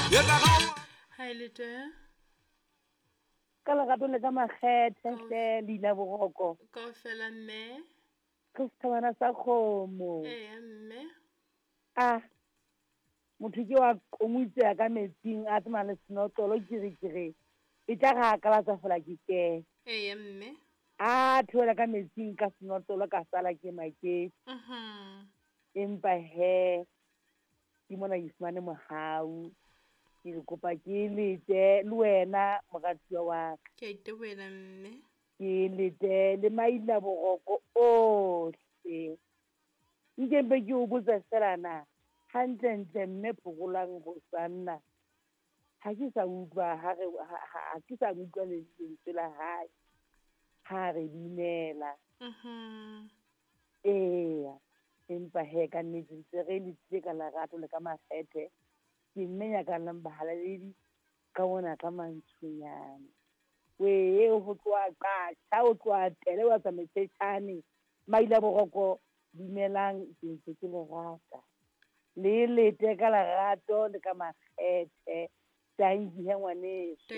Ha e le twe. Ka lerato le ka makgethe hle leina boroko. Kaofela mme. Ke sethabana sa kgomo. Eya mme. A motho ke wa komutseha ka metsing a tsamaya le senotlolo ke re ke re e tla re a kalatsa fela ke kene. Eya mme. A theohela ka metsing ka senotlolo ka sala ke maketse. Empa he ke mona ke fumane mohau. Ke le kopa ke lete le wena moratuwa wa ka. Ke a itebohela mme. Ke lete le maila boroko ohle. Nke mpe ke o botse fela na hantlentle mme Phokolang Hosanna ha ke sa utlwa ha re ha ke sa utlwa lentswe la hae ha re binela. Eya, empa he ka nnete ntse re letile ka lerato le ka makgethe. Ke mme nyakallang bahalaledi ka mona ka mantshonyane. Wee ho tloha Qasha, ho tloha Tele, wa tsa Metshetjhane, Maila Boroko, dumelang ke ntse ke le rata. Le lete ka lerato le ka makgethe. Tanki he ngwaneso.